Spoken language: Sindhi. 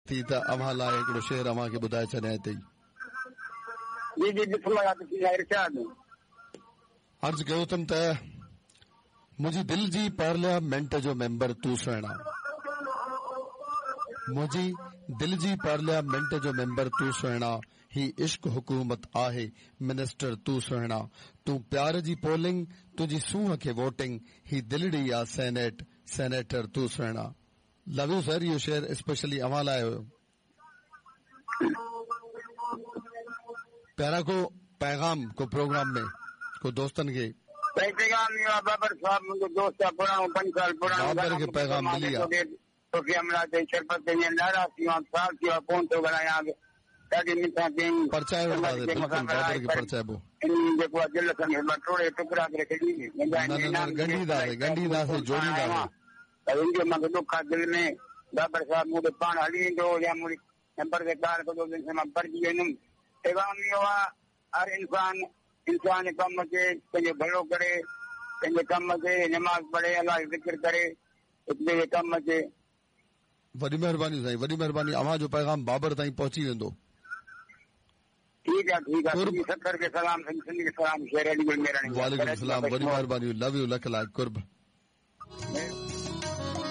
ٿي ته اوهان لاء هڪڙو شعر اوهان کي ٻڌائي ڇڏيان هتي ئي. جي جي بسم الله بسم الله ارشاد. عرض ڪيو اٿم ته منهنجي دل جي پارليامينٽ جو ميمبر تون سهڻا. منهنجي دل جي پارليامينٽ جو ميمبر تون سهڻا هي عشق حڪومت آهي منسٽر تون سهڻا تون پيار جي پولنگ تنهنجي سونهن کي ووٽنگ هي دلڙي آ سينيٽ سينيٽر تون سهڻا. لو you سر اهو شعر اسپيشلي اوهان لاء هيو. پيارا ڪو پيغام ڪو پروگرام ۾ ڪو دوستن کي. سائين پيغام اهو آ بابر صاحب منهنجو دوست آ پراڻو پنج سال پراڻو بابر کي پيغام ملي آ. ٽوپي حملا چئي شربت چئي ۽ ناراض ٿي ويو آهيان سال ٿي ويو آهي ڪونه ٿو ڳالهايان ڏاڍي منٿان ڪيائين پرچائي وٺنداسين بلڪل بابر کي پرچائبو. انهي جيڪو آهي دل سان مان ٽوڙي ٽڪرا ڪري ڇڏي نه نه نه ڳنڍينداسين ڳنڍينداسين جوڙينداسين. پر ان جو مان کي ڏک آهي دل ۾ بابر صاحب مون ڏي پاڻ هلي ايندو هو يا مون نمبر تي ڪال ڪندو هو جنهن سان مان پرچي ويندم پيغام اهو آهي هر انسان انسان جي ڪم اچي پنهنجو ڀلو ڪري پنهنجي ڪم اچي نماز پڙهي الله جو ذڪر ڪري هڪ ٻئي جي ڪم اچي. وڏي مهرباني سائين وڏي مهرباني اوهان جو پيغام بابر تائين پهچي ويندو. ٺيڪ آ ٺيڪ آ سنڌي سکر کي سلام سنڌي سنڌ کي سلام شير علي گل ميراڻي وعليڪم السلام وڏي مهرباني لو يو لک لائق قرب.